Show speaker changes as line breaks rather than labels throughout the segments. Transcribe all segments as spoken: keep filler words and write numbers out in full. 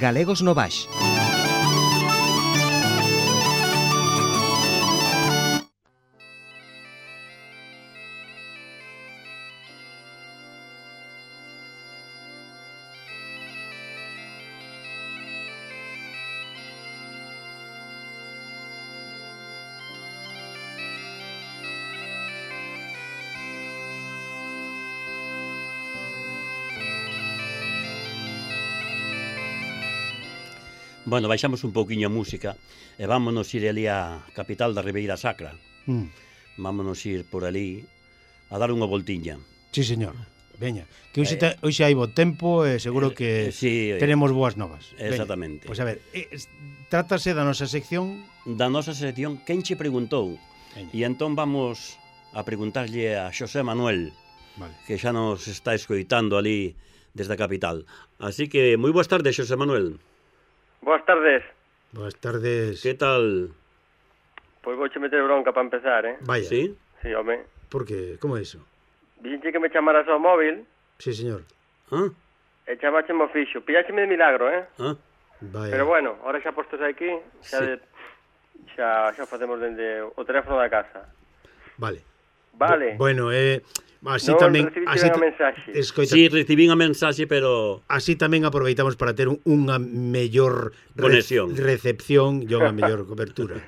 Galegos no Baix.
Bueno, baixamos un pouquiño a música e vámonos ir ali á capital da Ribeira Sacra.
Mm.
Vámonos ir por ali a dar unha voltiña.
Sí, señor. Veña, que hoxe, te, hoxe hai bo tempo e seguro que
eh, sí,
tenemos boas novas.
Exactamente.
Pois pues a ver, eh, trátase da nosa sección...
Da nosa sección, quen che preguntou?
Veña.
E entón vamos a preguntarlle a Xosé Manuel,
vale.
que xa nos está escoitando ali desde a capital. Así que, moi boas tardes, Xosé Manuel.
Boas tardes.
Boas tardes.
Que tal?
Pois vouche meter bronca para empezar, eh?
Vaya.
Sí?
Sí, home.
Por que? Como é iso?
Dixenche que me chamaras ao móvil.
Sí, señor.
Ah?
E chamaxeme o fixo. Pilláxeme de milagro, eh?
Ah?
Vaya.
Pero bueno, ahora xa postos aquí, xa,
Sí.
de, xa, xa facemos dende o teléfono da casa.
Vale.
Vale.
Bu bueno, eh... Así
non
tamén,
recibiche
así
unha mensaxe.
Escoita,
Sí, recibín a mensaxe, pero...
así tamén aproveitamos para ter un, unha mellor re
Conexión.
recepción e unha mellor cobertura.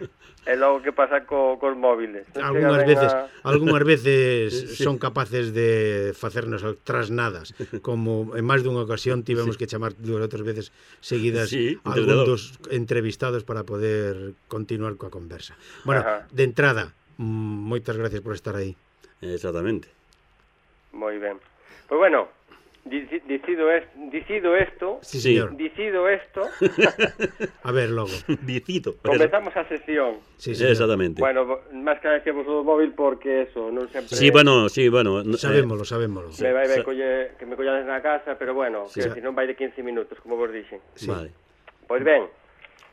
É logo que pasa co, cos móviles. Non
Algúnas
chega ben
veces,
a...
algúnas veces
Sí.
son capaces de facernos trasnadas, como en máis dunha ocasión tivemos
Sí.
que chamar dúas outras veces seguidas
Sí,
a
entre
algún
dos.
dos entrevistados para poder continuar coa conversa. Bueno,
Ajá.
de entrada, mm, moitas gracias por estar aí.
Exactamente.
Moi ben. Pois bueno, dici- dicido, es, dicido esto,
Sí,
Sí.
señor.
dicido esto,
A ver, logo.
Dicito.
comezamos a sesión.
Sí, señor.
Exactamente.
Bueno, bo- máis que decíamos o móvil porque eso, non sempre...
Sí, bueno, sí, bueno. no-
Sabémolo, sabémolo.
Me vai
Sí.
ben colle, que me collades na casa, pero bueno,
Sí.
que si non vai de quince minutos, como vos dixen.
eh, Vale.
Pois ben,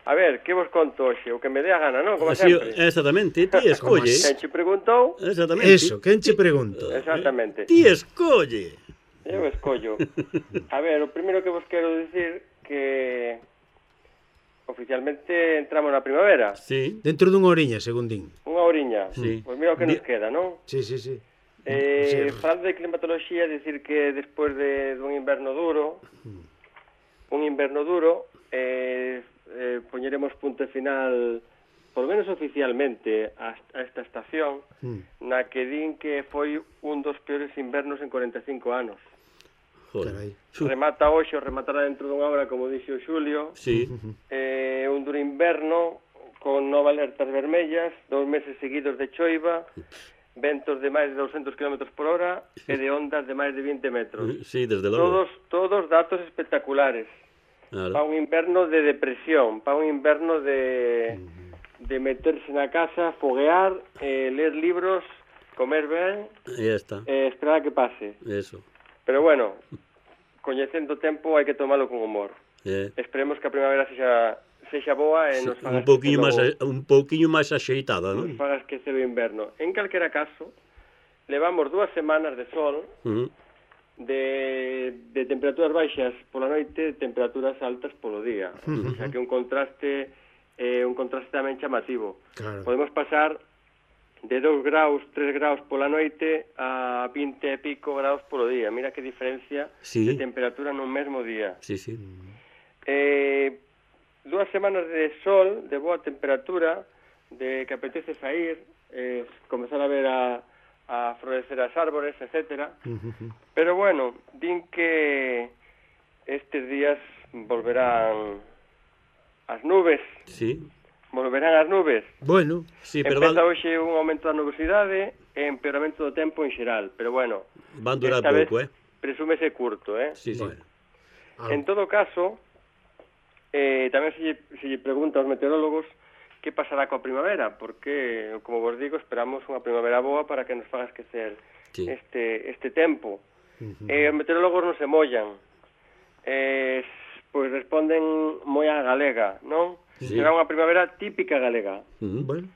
a ver, que vos conto hoxe? O que me dé a gana, non? Como
Sí,
sempre.
exactamente, ti escolle.
Quen che preguntou?
Exactamente.
Eso, quen che pregunto?
Exactamente.
Ti escolle.
Eu escollo. A ver, o primeiro que vos quero dicir que oficialmente entramos na primavera.
Sí.
Dentro dunha oriña, según din.
Unha oriña.
Sí.
Pois mira o que nos
Di-
queda, non?
Sí, sí, sí.
Eh,
Sí.
falando de climatoloxía, decir que despois de dun inverno duro, un inverno duro, eh, eh, poñeremos punto final, por lo menos oficialmente, a, a esta estación,
Mm.
na que din que foi un dos peores invernos en cuarenta e cinco anos.
Joder.
Carai.
Remata hoxe, o rematará dentro dunha hora, como dixo o Xulio,
Sí.
eh, un duro inverno con nove alertas vermellas, dous meses seguidos de choiva, ventos de máis de doscientos kilómetros por hora e de ondas de máis de vinte metros.
Sí, desde logo.
Todos, todos datos espectaculares.
Claro.
Para un inverno de depresión, para un inverno de, de meterse na casa, foguear, eh, ler libros, comer ben,
Ya está.
eh, esperar a que pase.
Eso.
Pero bueno, coñecendo o tempo hai que tomalo con humor.
Eh.
Esperemos que a primavera sexa, sexa boa e nos faga
Un pouquiño máis
esquecer
un pouquiño máis axeitada,
o,
non?
nos faga esquecer o inverno. En calquera caso, levamos dúas semanas de sol,
Uh -huh.
de, de temperaturas baixas pola noite, temperaturas altas polo día. O sea que un contraste eh, un contraste tamén chamativo.
Claro.
Podemos pasar de dous graus, tres graus pola noite a vinte e pico graus polo día. Mira que diferencia
Sí.
de temperatura nun mesmo día.
Sí, sí.
Eh, dúas semanas de sol, de boa temperatura, de que apetece sair, eh, comezar a ver a, a florecer as árbores, etcétera. Pero bueno, din que estes días volverán as nubes,
Sí.
volverán as nubes.
Bueno,
Sí, pero
Empeza
van,
hoxe un aumento da nubosidade e empeoramento do tempo en xeral, pero bueno,
van durar
esta
pouco,
vez
eh?
presúmese curto, eh?
Sí, sí.
bueno.
En todo caso, eh, tamén se lle, se lle pregunta aos meteorólogos que pasará coa primavera, porque, como vos digo, esperamos unha primavera boa para que nos faga esquecer
Sí.
este, este tempo. Eh, os meteorólogos non se mollan, eh, pois responden moi á galega, non?
Sí.
Será unha primavera típica galega.
Uh -huh.
Bueno,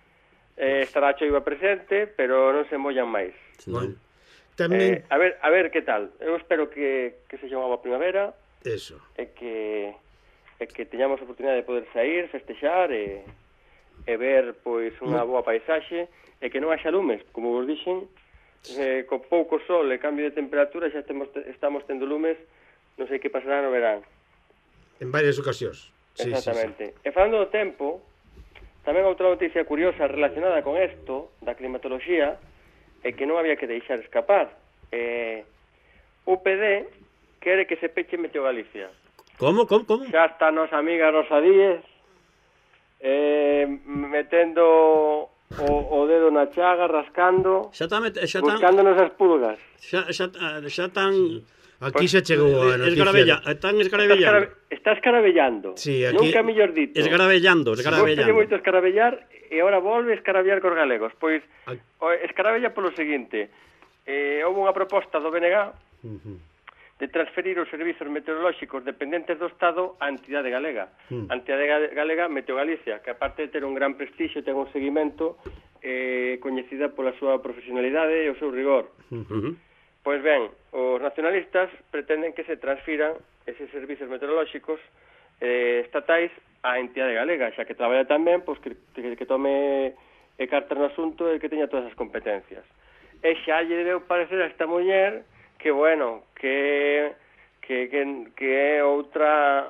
Eh, estará a choiva presente, pero non se mollan máis.
Sí,
bueno.
non?
Tamén,
Eh, a ver, a ver que tal. Eu espero que, que sexa unha boa primavera,
eso.
e que e que teñamos a oportunidade de poder sair, festexar e, e ver pois unha boa paisaxe e que non haxa lumes, como vos dixen, eh, co pouco sol e cambio de temperatura xa temos, estamos tendo lumes, non sei que pasará no verán.
En varias ocasións. Sí,
exactamente.
Sí, sí.
E falando do tempo, tamén outra noticia curiosa relacionada con isto, da climatoloxía, é que non había que deixar escapar. Eh, U P D quere que se peche Meteo Galicia.
Como, como, como?
Xa está a nosa amiga Rosa Díez eh, metendo o, o dedo na chaga, rascando,
Xa está, xa está,
buscándonos as pulgas.
xa, xa, xa están...
Aquí xa chegou a noticia.
Escarabella, están escarabellando.
Está escarabellando.
Sí, aquí...
Nunca mellor dito.
Escarabellando, escarabellando.
Gostalle moito escaravellar e agora volve a escaravellar cos galegos. Pois,
Aquí...
escarabella polo seguinte. Eh, houve unha proposta do B N G
Uh-huh.
de transferir os servizos meteorolóxicos dependentes do Estado á entidade galega.
Uh-huh.
A entidade galega, Meteo Galicia, que aparte de ter un gran prestixio, ten un seguimento eh, coñecida pola súa profesionalidade e o seu rigor.
Uh-huh.
Pois ben, os nacionalistas pretenden que se transfiran eses servizos meteorolóxicos eh, estatais á entidade galega, xa que traballa tamén, pois que, que, que tome e carta no asunto e que teña todas as competencias. E xa lle debeu parecer a esta muller que, bueno, que, que, que, que é outra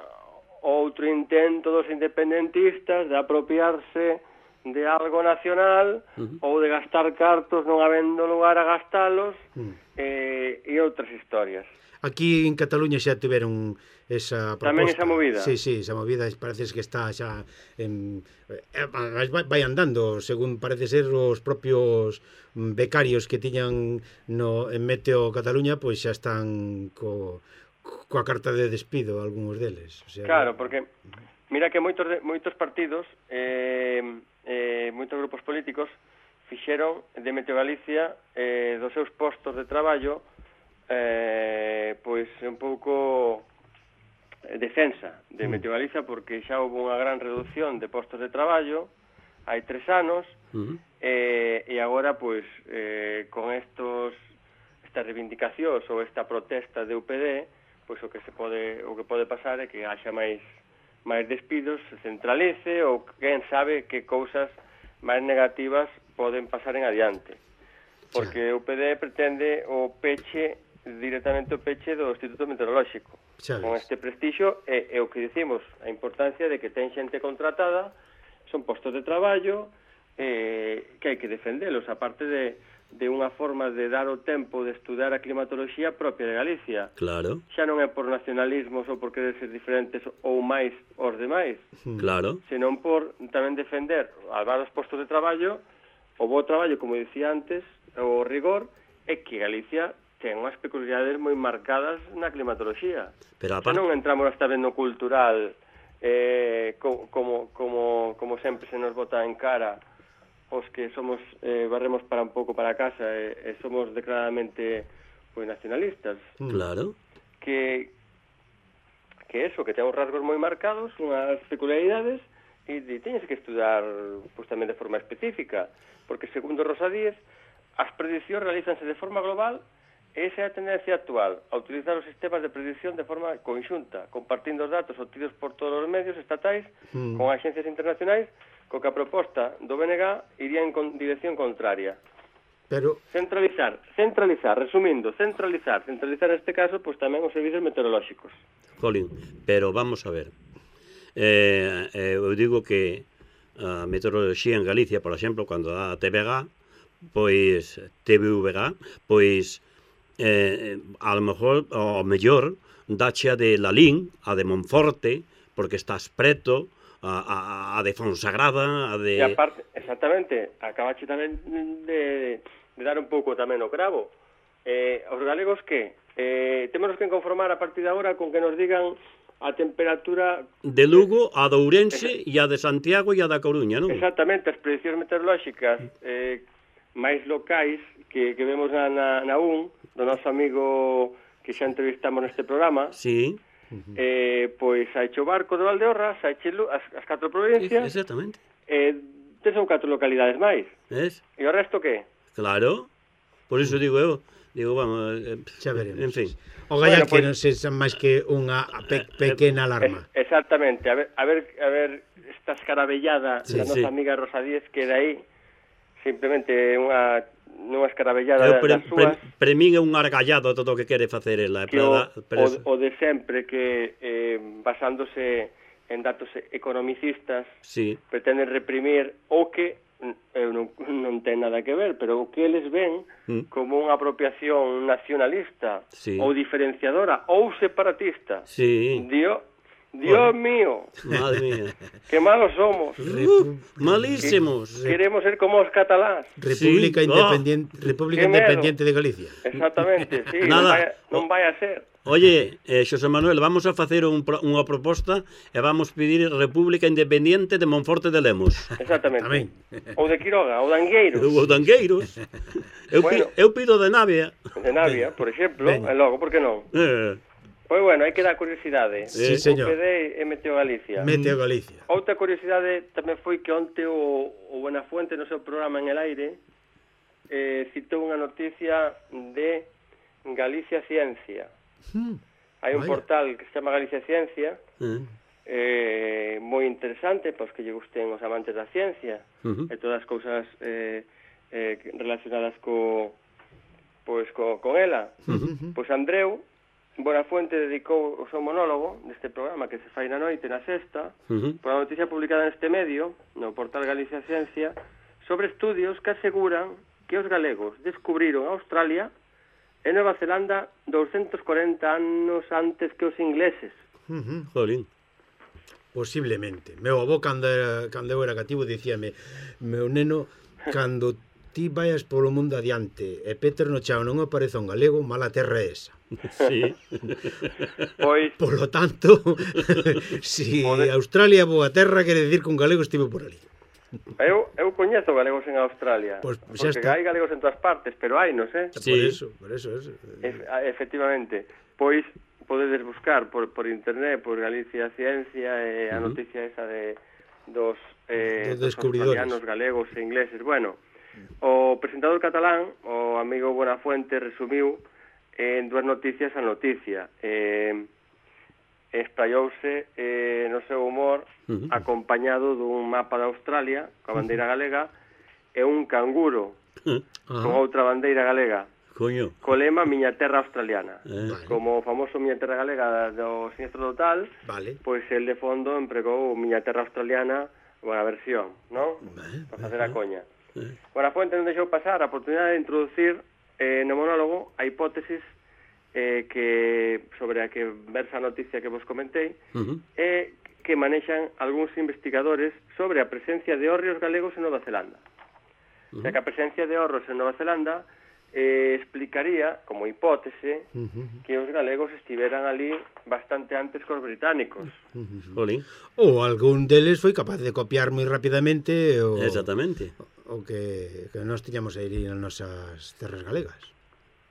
outro intento dos independentistas de apropiarse de algo nacional uh-huh. ou de gastar cartos non habendo lugar a gastalos uh-huh. eh, e outras historias.
Aquí en Cataluña xa tiveron esa proposta.
Tamén esa movida.
Sí, sí, esa movida parece que está xa en, eh, vai andando, según parece ser os propios becarios que tiñan no en Meteo Cataluña, pois xa están co, coa carta de despido algúns deles. O sea,
claro, porque mira que moitos de, moitos partidos eh, eh, moitos grupos políticos fixeron de Meteo Galicia eh, dos seus postos de traballo eh, pois un pouco defensa de Meteo Galicia, porque xa houve unha gran reducción de postos de traballo hai tres anos uh-huh. eh, e agora pois eh, con estos estas reivindicacións ou esta protesta de U P D, pois o que se pode o que pode pasar é que haxa máis máis despidos, se centralice ou quen sabe que cousas máis negativas poden pasar en adiante, porque o U P D pretende o peche directamente o peche do Instituto Meteorolóxico con este prestixio e, e o que dicimos, a importancia de que ten xente contratada, son postos de traballo eh, que hai que defendelos, aparte de, de unha forma de dar o tempo de estudar a climatoloxía propia de Galicia.
Claro.
Xa non é por nacionalismos ou por querer ser diferentes ou máis os demais,
claro,
senón por tamén defender a varios postos de traballo, o bo traballo, como dicía antes, o rigor, é que Galicia ten unhas peculiaridades moi marcadas na climatoloxía. Pero aparte... non entramos hasta vendo cultural eh, co, como, como, como sempre se nos bota en cara os que somos eh, barremos para un pouco para casa e, e somos declaradamente pues, nacionalistas.
Claro.
Que, que eso, que ten uns rasgos moi marcados, unhas peculiaridades, e, e teñes que estudar pues, tamén de forma específica, porque segundo Rosa Díez, as prediccións realízanse de forma global. Esa é a tendencia actual, a utilizar os sistemas de predicción de forma conxunta, compartindo os datos obtidos por todos os medios estatais mm. con axencias internacionais, co que a proposta do B N G iría en con dirección contraria.
Pero...
Centralizar, centralizar, resumindo, centralizar, centralizar neste caso, pois tamén os servicios meteorolóxicos.
Colin, pero vamos a ver. Eh, eh, eu digo que a meteoroloxía en Galicia, por exemplo, cando dá a T V G, pois T V V G, pois eh, a lo mejor, o mellor, dache a de Lalín, a de Monforte, porque estás preto, a, a, a de Fonsagrada, a de...
E aparte, exactamente, acabache tamén de, de dar un pouco tamén o cravo. Eh, os galegos que? Eh, temos que conformar a partir de agora con que nos digan a temperatura...
De Lugo, a de Ourense, e a de Santiago e a da Coruña, non?
Exactamente, as prediccións meteorolóxicas eh, máis locais que, que vemos na, na, na U N, do noso amigo que xa entrevistamos neste programa.
Sí.
Eh, pois saiche o barco de Valdeorras, saiche as, as catro provincias.
Exactamente.
Eh, son catro localidades máis.
Es?
E o resto que?
Claro. Por iso digo eu, Digo, vamos, eh,
xa veremos.
en fin.
O galla
Bueno,
que
pois-
non sexa máis que unha pe pequena alarma.
Es, exactamente, a ver, a ver, a ver esta escarabellada
Sí,
da nosa
sí.
amiga Rosa Díez, que de aí simplemente unha nunha escarabellada
Eu pre,
das
pre,
súas,
pre min é un argallado todo o que quere facer ela.
que o,
Para,
o, o de sempre, que eh, basándose en datos economicistas,
sí,
pretenden reprimir o que eu non, non ten nada que ver, pero o que eles ven
Mm.
como unha apropiación nacionalista
Sí.
ou diferenciadora ou separatista.
sí.
Dios, Dios mío,
Madre mía.
que malos somos.
Uh, malísimos.
Queremos ser como os catalás.
República
Sí.
Independiente, República
Qué medo.
Independiente de Galicia.
Exactamente, sí,
Nada.
non vai, non vai a ser.
Oye, eh, Xosé Manuel, vamos a facer un, pro- unha proposta e vamos pedir República Independiente de Monforte de Lemos.
Exactamente.
Tamén.
Ou de Quiroga, ou de Angueiros,
Ou Dangueiros. Eu,
Bueno.
pi, eu pido de Navia.
de Navia, por exemplo,
Veña.
e logo, por que non?
Eh,
Pois bueno, hai que dar curiosidade.
Sí,
O
señor.
P D e Meteo Galicia.
Meteo Galicia.
Outra curiosidade tamén foi que onte o, o Buenafuente no seu programa En el Aire eh, citou unha noticia de Galicia Ciencia.
Hmm.
Hai un
Vaya.
portal que se chama Galicia Ciencia,
eh,
eh, moi interesante, pois que lle gusten os amantes da ciencia
uh-huh.
e todas as cousas eh, eh, relacionadas co, pois, co, con ela.
Uh-huh.
Pois Andreu Buenafuente dedicou o seu monólogo deste programa que se fai na noite, na sexta,
Uh-huh.
por a noticia publicada neste medio, no portal Galicia Ciencia, sobre estudios que aseguran que os galegos descubriron Australia e Nova Zelanda doscientos corenta anos antes que os ingleses.
Uh-huh.
Jolín.
Posiblemente. Meu avó, cando, era, cando eu era cativo, dicíame: meu neno, cando ti vayas polo mundo adiante e Peter no chao non apareza un galego, mala terra é esa.
Sí.
Pois,
Por lo tanto, si
Pode-
Australia é boa terra, quere decir que un galego estivo por ali.
eu, eu coñezo galegos en Australia,
Pois xa
porque
está.
hai galegos en todas partes, pero hai, non sei?
Sí.
Por eso, por eso, eso.
Ef, a- efectivamente, pois podedes buscar por, por internet, por Galicia Ciencia e a
Ujú.
noticia esa de dos, eh,
Dos
dos
descubridores.
australianos, galegos e ingleses. Bueno, o presentador catalán, o amigo Buenafuente, resumiu en dúas noticias a noticia. Eh, espraiouse eh, no seu humor
Ujú.
acompañado dun mapa de Australia coa bandeira galega e un canguro con
Ah,
outra bandeira galega
Coño.
co lema Miña Terra Australiana.
Eh.
Vale.
Como o famoso Miña Terra Galega do Sinistro Total,
vale.
pois el de fondo empregou Miña Terra Australiana, unha versión, non?
Vale,
Para facer a coña.
Eh.
Buenafuente non deixou pasar a oportunidade de introducir eh, no monólogo a hipótesis eh, que sobre a que versa a noticia que vos comentei,
Uh-huh.
e que manexan algúns investigadores sobre a presencia de hórreos galegos en Nova Zelanda. O sea, que a presencia de hórreos en Nova Zelanda eh, explicaría, como hipótese,
Uh-huh.
que os galegos estiveran ali bastante antes que os británicos.
Jolín.
Ou algún deles foi capaz de copiar moi rapidamente o,
Exactamente.
o que, que nós tiñamos aí nas nosas terras galegas.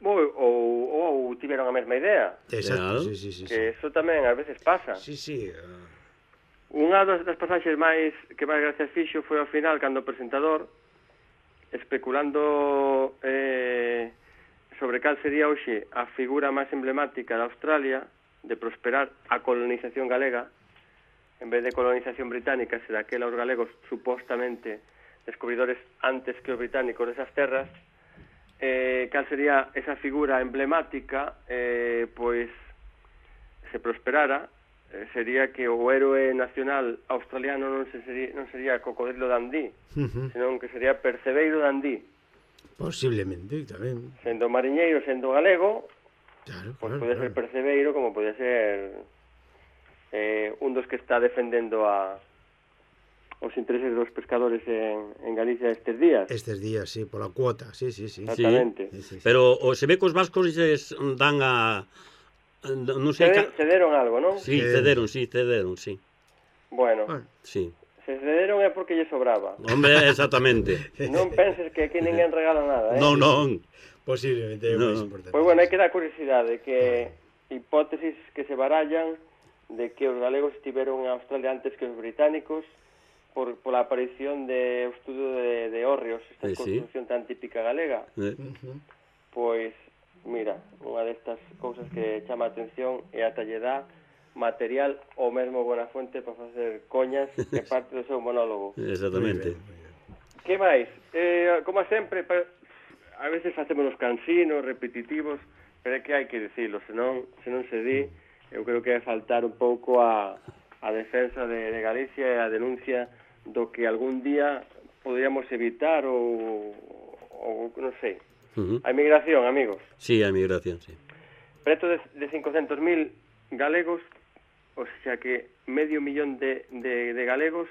Ou, ou, ou tiveron a mesma idea,
Exacto,
Claro.
sí, sí, sí.
que eso tamén ás veces pasa.
Sí, sí. ah,
Unha das, das pasaxes máis que máis gracias fixo foi ao final cando o presentador, especulando eh, sobre cal sería hoxe a figura máis emblemática de Australia de prosperar a colonización galega, en vez de colonización británica, será aquela os galegos supostamente descubridores antes que os británicos desas terras, eh, cal sería esa figura emblemática, eh, pois se prosperara, eh, sería que o héroe nacional australiano non, se sería, non sería Cocodrilo Dundee,
uh-huh.
senón que sería Percebeiro Dundee.
Posiblemente tamén.
Sendo mariñeiro, sendo galego,
Claro,
pois
claro,
pode
claro.
ser Percebeiro como pode ser eh, un dos que está defendendo a os intereses dos pescadores en, en Galicia estes días.
Estes días, sí, pola cuota, sí, sí, sí.
Exactamente.
Sí, sí, sí.
Pero o se ve que os vascos lles dan a... Non sei...
Ceder,
Ca...
cederon algo, non?
Sí,
Eh.
cederon, sí, cederon, sí.
Bueno,
Bueno,
Sí.
se cederon é porque lle sobraba.
Hombre, exactamente.
Non penses que aquí ninguén regala nada, eh?
Non, non.
posiblemente é o
No.
máis importante.
Pois bueno, hai que dar curiosidade que hipótesis que se barallan de que os galegos estiveron en Australia antes que os británicos por, por la aparición de o estudo de, de hórreos, esta
Eh, sí.
construcción tan típica galega.
Eh,
Uh-huh.
Pois mira, unha destas cousas que chama a atención e ata lle dá material o mesmo Buenafuente para facer coñas que parte do seu monólogo.
Exactamente.
Que máis? Eh, como sempre, pa, a veces facemos os cansinos repetitivos, pero é que hai que dicilo, senón, senón se di, eu creo que é faltar un pouco a, a defensa de, de Galicia e a denuncia do que algún día podríamos evitar ou, ou non sei.
Uh-huh.
A emigración, amigos.
Sí, a emigración, sí.
Preto de, de cincocentos mil galegos, o sea que medio millón de, de, de galegos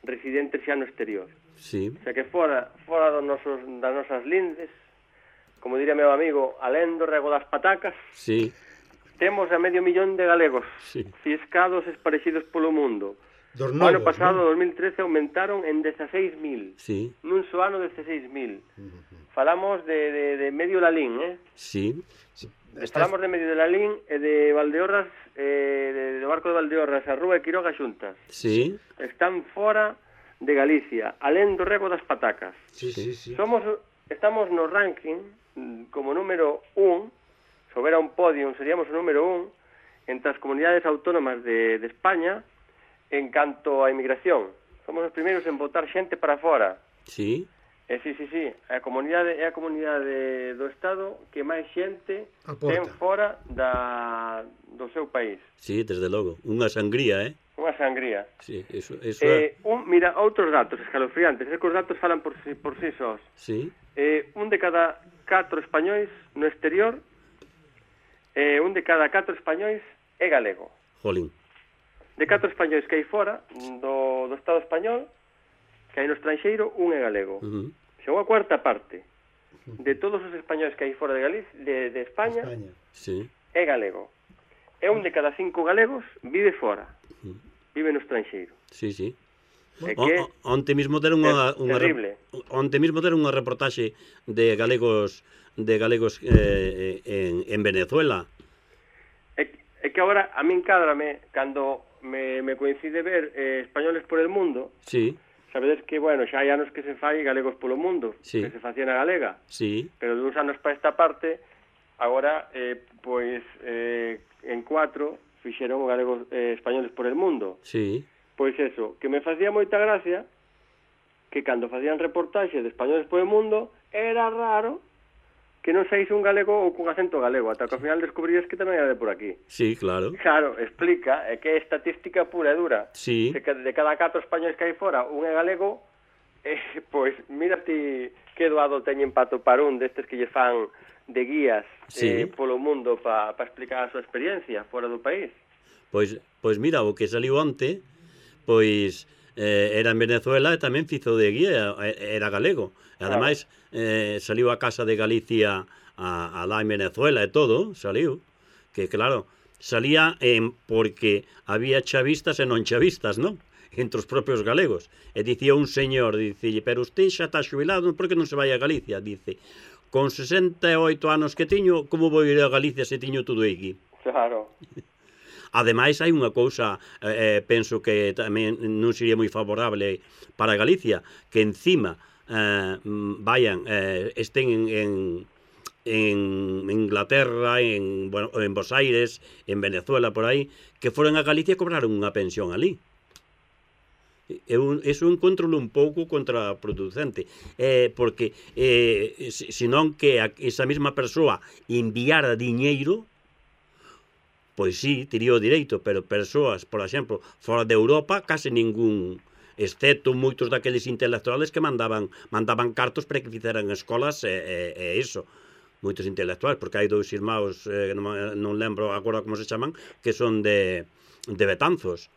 residentes xa no exterior.
Sí.
O sea que fora, fora dos nosos, das nosas lindes, como diría meu amigo, alén do rego das patacas,
sí.
Temos a medio millón de galegos,
sí.
Ciscados esparecidos polo mundo.
Dos
novos, o ano pasado, ¿no? dos mil trece, aumentaron en dezaseis mil.
Sí.
Nun só ano, dezaseis mil. Uh-huh. Falamos de, de, de medio Lalín, eh?
Sí.
sí. Falamos de medio de Lalín e de Valdeorras, eh, de, de Barco de Valdeorras, a Rúa e Quiroga xuntas.
Sí.
Están fora de Galicia, alén do rego das patacas.
Sí, sí, sí.
Somos, estamos no ranking como número un, se houbera un podium seríamos o número un entre as comunidades autónomas de, de España en canto a inmigración. Somos os primeiros en votar xente para fora.
Sí.
E sí, sí, sí, a comunidade é a comunidade do Estado que máis xente
aporta.
Ten fora da, do seu país.
Sí, desde logo. Unha sangría, eh?
Unha sangría.
Sí, eso, eso
eh, un, mira, outros datos escalofriantes. Escos datos falan por si, por si sós.
Sí.
Eh, un de cada catro españois no exterior, eh, un de cada catro españois é galego.
Jolín.
De catro españois que hai fora do, do Estado español, que hai no estranxeiro, un é galego.
Uh-huh.
Xa unha cuarta parte de todos os españois que hai fora de Galicia, de, de España,
España.
Sí.
é galego. E un de cada cinco galegos vive fora. Uh-huh. Vive no estranxeiro.
Sí, sí.
É que
o, onte mismo deron unha, unha
terrible.
Onte mismo deron unha reportaxe de galegos de galegos eh, en, en Venezuela.
É, é que agora a min cádrame cando me, me coincide ver eh, españoles por el mundo.
Sí.
Sabedes que, bueno, xa hai anos que se fai galegos polo mundo,
sí.
que se facía na galega.
Sí.
Pero de uns anos para esta parte, agora, eh, pois, eh, en cuatro fixeron galegos eh, españoles por el mundo.
Sí.
Pois eso, que me facía moita gracia que cando facían reportaxe de españoles por el mundo, era raro que non saíse un galego ou cun acento galego, ata que ao final descubrías que tamén era de por aquí.
Sí, claro.
Claro, explica, é que é estatística pura e dura.
Sí.
De, de cada catro españoles que hai fora, un é galego, eh, pois, mira ti que doado teñen para topar un destes que lle fan de guías
sí.
eh, polo mundo para pa explicar a súa experiencia fora do país.
Pois, pois mira, o que saliu onte, pois eh, era en Venezuela e tamén fizo de guía, era galego. Ademais, eh, saliu a Casa de Galicia a, a lá en Venezuela e todo, saliu. Que claro, salía en, porque había chavistas e non chavistas, non? Entre os propios galegos. E dicía un señor, dicille, pero usted xa está xubilado, por que non se vai a Galicia? Dice, con sesenta e oito anos que tiño, como vou ir a Galicia se tiño tudo aquí?
Claro.
Ademais, hai unha cousa, eh, penso que tamén non sería moi favorable para Galicia, que encima eh, vayan, eh, estén en, en, en Inglaterra, en, bueno, en Buenos Aires, en Venezuela, por aí, que foran a Galicia e cobraron unha pensión ali. Eu, eso encontrolo un pouco contraproducente, eh, porque eh, senón que a, esa mesma persoa enviara diñeiro, pois sí, tería o direito, pero persoas, por exemplo, fora de Europa, case ningún, excepto moitos daqueles intelectuales que mandaban mandaban cartos para que fixeran escolas e, e, e iso, moitos intelectuales, porque hai dous irmãos, eh, non, non lembro agora como se chaman, que son de, de Betanzos.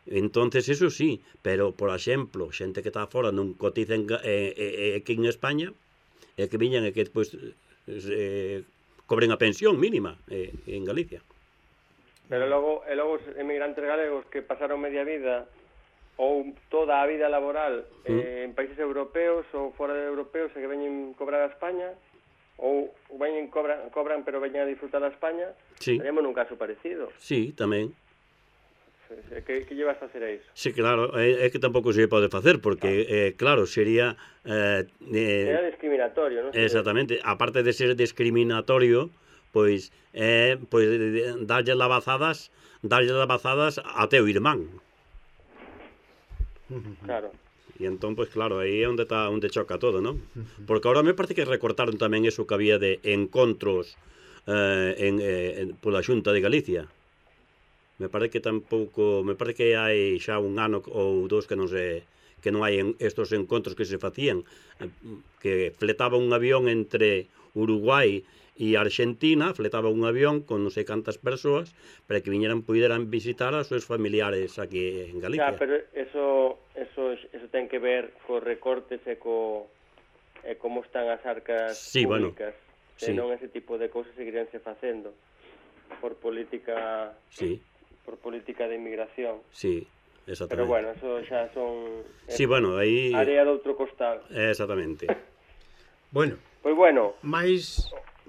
Entonces, eso sí, pero, por exemplo, xente que está fora non cotiza en, eh, eh, aquí en España, e que viñan e que despois eh, cobren a pensión mínima eh, en Galicia.
Pero logo, e logo os emigrantes galegos que pasaron media vida ou toda a vida laboral eh, mm. en países europeos ou fora de europeos e que veñen cobrar a España, ou veñen cobran, cobran pero veñen a disfrutar a España,
sí.
teníamos un caso parecido.
Sí, tamén.
Sí. entonces? E que, que llevas a facer a iso?
Sí, claro, é, é que tampouco se pode facer, porque, eh, claro, sería... Eh,
Era
eh,
discriminatorio, non sei.
exactamente, aparte de ser discriminatorio, pois, eh, pois darlle lavazadas, darlle lavazadas a teu irmán.
Claro.
E entón, pois claro, aí é onde está onde choca todo, non? Porque agora me parece que recortaron tamén eso que había de encontros eh, en, eh, en, pola Xunta de Galicia. Me parece que tampouco, me parece que hai xa un ano ou dous que non se que non hai en, estos encontros que se facían, eh, que fletaba un avión entre Uruguai e Argentina, fletaba un avión con non sei cantas persoas para que viñeran puderan visitar a seus familiares aquí en Galicia.
Ya, pero eso eso eso ten que ver co recortes e co e como están as arcas
sí,
públicas.
Bueno,
Se
sí.
non ese tipo de cousas seguiríanse facendo por política
Sí.
por política de inmigración.
Sí, exactamente.
Pero bueno, eso xa son
sí, bueno, aí
área do outro costado.
Exactamente.
Bueno,
Pois bueno,
máis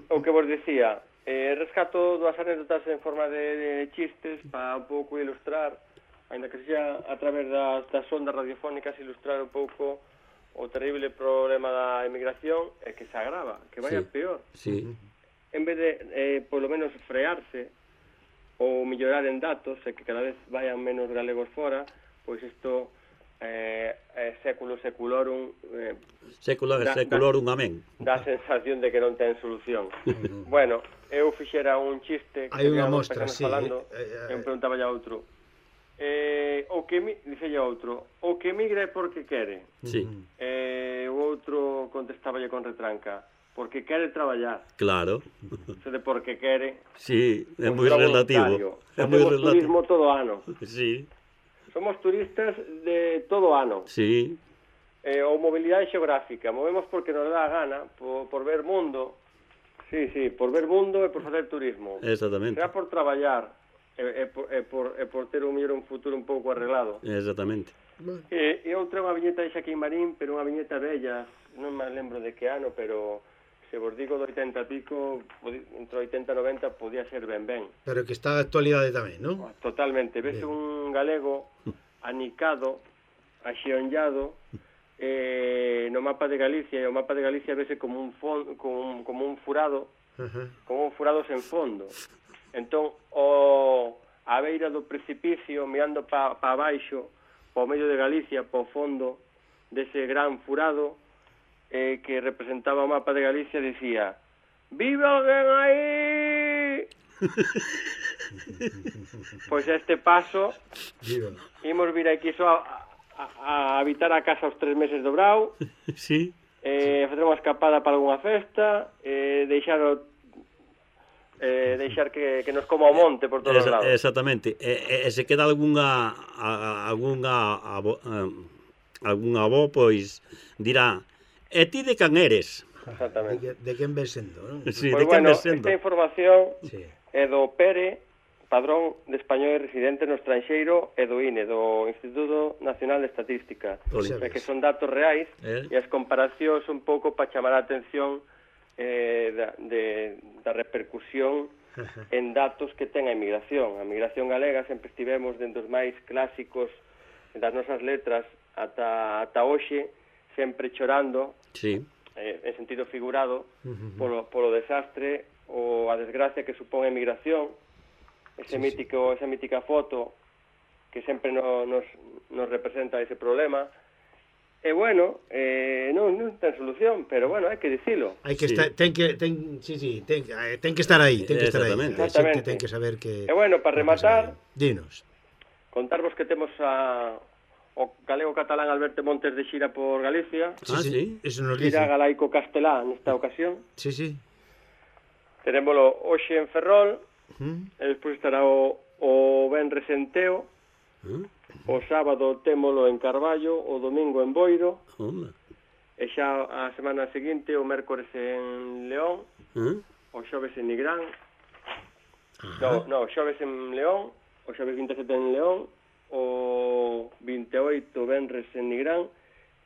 o que vos decía, eh, rescato dúas anécdotas en forma de, de chistes para un pouco ilustrar, ainda que sea a través das, das ondas radiofónicas, ilustrar un pouco o terrible problema da inmigración e que se agrava, que vaya
Sí.
peor.
Sí.
En vez de, eh, polo menos, frearse ou mellorar en datos e que cada vez vayan menos galegos fora, pois isto eh, é século seculorum, eh,
Século
Da-
seculorum, amén.
dá a sensación de que non ten solución. Bueno, eu fixera un chiste
Hai unha
habíamos
mostra,
personas
sí,
falando,
eh,
e
eh,
eu preguntaba a outro, eh, o que mi... dice outro, o que migra é porque quere.
Sí,
Eh, o outro contestaba con retranca, porque quere traballar.
claro.
Se de porque quere,
Sí, é
pois
moi
será
relativo.
voluntario.
É moi
Facemos turismo
relativo.
todo o ano.
Sí,
Somos turistas de todo o ano.
sí,
Eh, ou mobilidade xeográfica. Movemos porque nos dá a gana, por, por ver mundo. Sí, sí, por ver mundo e por facer turismo.
exactamente.
Será por traballar e, e, por, e, por, e por ter un mellor un futuro un pouco arreglado.
Exactamente.
E, e outra unha viñeta de Xaquín Marín, pero unha viñeta bella, non me lembro de que ano, pero se vos digo do oitenta e pico, podi- entre oitenta e noventa, podía ser ben ben.
pero que está de actualidade tamén, non?
Totalmente. Ves un galego anicado, axeonllado, eh, no mapa de Galicia, e o mapa de Galicia vese como un, fon, como un, como un furado,
Ajá.
como un furado sen fondo. Entón, o a beira do precipicio, mirando pa, pa baixo, pa o medio de Galicia, pa o fondo dese gran furado, eh, que representaba o mapa de Galicia, decía: "Vive alguén aí!" Pois a este paso,
Viva.
imos vir aquí só a, a, a habitar a casa os tres meses do brau,
Sí,
eh, facer unha escapada para algunha festa, eh, deixar o, eh, deixar que, que nos coma o monte por todos os
Esa,
lados.
exactamente. E, e, e se queda algunha a, a- algunha abo, um, algunha avó, pois dirá: "E ti de can eres?"
De,
Exactamente.
que, de quen ves sendo, non?
Sí,
Pois
de quen
bueno,
ves sendo?
esta información
Sí.
é do Pere, padrón de español residente no estranxeiro, e do I N E, do Instituto Nacional de Estatística.
Oli.
É que son datos reais,
Eh?
e as comparacións un pouco para chamar a atención eh, da, de, da repercusión en datos que ten a emigración. A emigración galega sempre estivemos dentro dos máis clásicos das nosas letras ata, ata hoxe, sempre chorando,
Sí,
eh, en sentido figurado, polo, polo desastre ou a desgracia que supón a emigración, ese
Sí,
mítico, esa mítica foto que sempre no, nos, nos representa ese problema. E bueno, eh, non, non ten solución, pero bueno, hai que dicilo.
Hai que
Sí.
estar, ten que ten, sí, sí, ten, eh, ten que estar aí, ten que estar aí.
Exactamente.
A xente
Exactamente.
ten que saber que
E bueno, para rematar,
dinos.
contarvos que temos a o galego catalán Alberto Montes de xira por Galicia,
Ah, sí?
Eso nos dice.
xira galaico castelá nesta ocasión.
Sí, sí.
Tenémolo hoxe en Ferrol,
¿Mm?
e despois estará o, o Benres en Teo,
Ah,
o sábado témolo en Carballo, o domingo en Boiro,
onda.
e xa a semana seguinte o mércores en León,
Ah,
o xoves en Nigrán,
Ajá.
no, no, o xoves en León, o xoves vinte e sete en León, o vinte e oito Benres en Nigrán,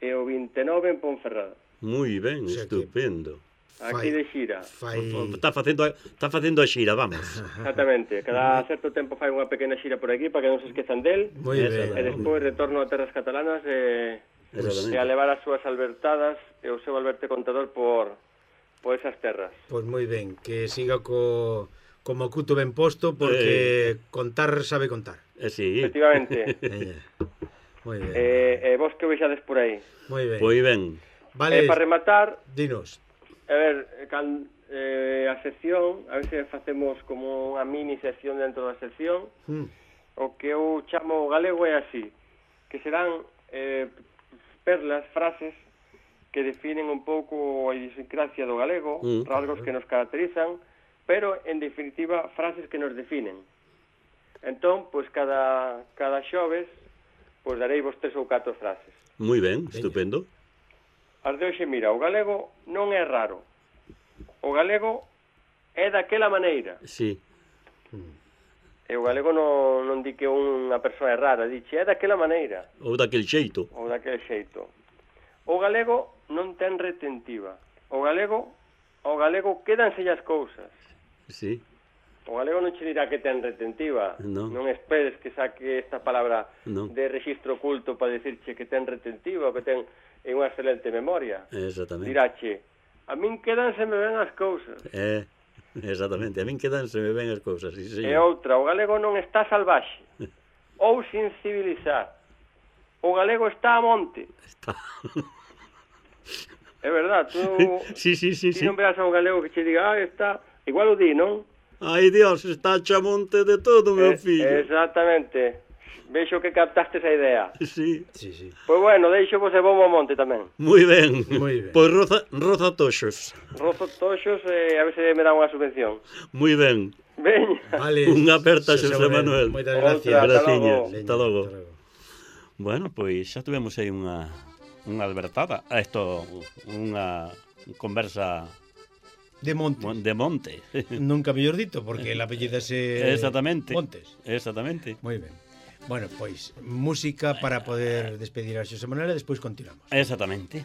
e o vinte e nove en Ponferrada.
moi ben,
O sea que-
estupendo.
aquí de xira.
Fai...
Está facendo, está facendo a xira, vamos.
Exactamente, cada certo tempo fai unha pequena xira por aquí para que non se esquezan del.
Moi ben.
E despois retorno a terras catalanas e, e a levar as súas albertadas e o seu Alberte Contador por, por esas terras.
Pois moi ben, que siga co, como cuto ben posto, porque eh... contar sabe contar.
Eh, sí.
Efectivamente.
Moi ben.
E, e vos que vexades por aí.
Moi ben.
Moi ben.
Vale,
E para rematar,
dinos.
a ver, can, eh, a sección, a ver se facemos como unha mini sección dentro da sección.
Mm.
O que eu chamo galego é así, que serán eh, perlas, frases que definen un pouco a idiosincrasia do galego,
mm.
rasgos que nos caracterizan, pero en definitiva frases que nos definen. Entón, pois cada, cada xoves, pois darei vos tres ou catro frases.
Moi ben, estupendo.
As de hoxe, mira, o galego non é raro. O galego é daquela maneira.
Sí.
E o galego non, non di que unha persoa é rara, dixe é daquela maneira.
Ou daquel xeito.
Ou daquele xeito. O galego non ten retentiva. O galego, o galego quédanse as cousas.
Sí.
O galego non che dirá que ten retentiva.
Non.
Non esperes que saque esta palabra
non.
de rexistro oculto para decirche que ten retentiva ou que ten unha excelente memoria.
Exactamente.
Dirache, a min quédanse me ben as cousas.
Eh, exactamente, a min quedanse me ben as cousas, sí,
E
señor.
outra, o galego non está salvaxe ou sin civilizar. O galego está a monte.
Está.
É verdad, tú
Sí, sí, sí,
ti
sí.
non verás a un galego que che diga, ah, está, igual o di, non?
Ai, Dios, está chamonte de todo, meu
Eh,
fillo.
Exactamente. Vexo que captaste esa idea.
Sí.
Sí, sí.
Pois bueno, deixo vos e vou ao monte tamén.
Moi ben.
Moi ben.
Pois roza, roza toxos.
Rozo toxos e a ver se me dá unha subvención.
Moi ben.
Veña.
Vale.
Unha aperta,
Xosé
Xosé Manuel.
Moitas
Outra,
gracias.
ata
Graciña.
logo.
Hasta logo.
Hasta logo.
Bueno, pois xa tuvemos aí unha unha albertada, isto unha conversa
De monte.
de monte.
Nunca mellor dito, porque el apellido é
Exactamente.
Montes.
Exactamente.
Moi ben. Bueno, pois, música para poder despedir a Xosé Manuel e despois continuamos.
Exactamente.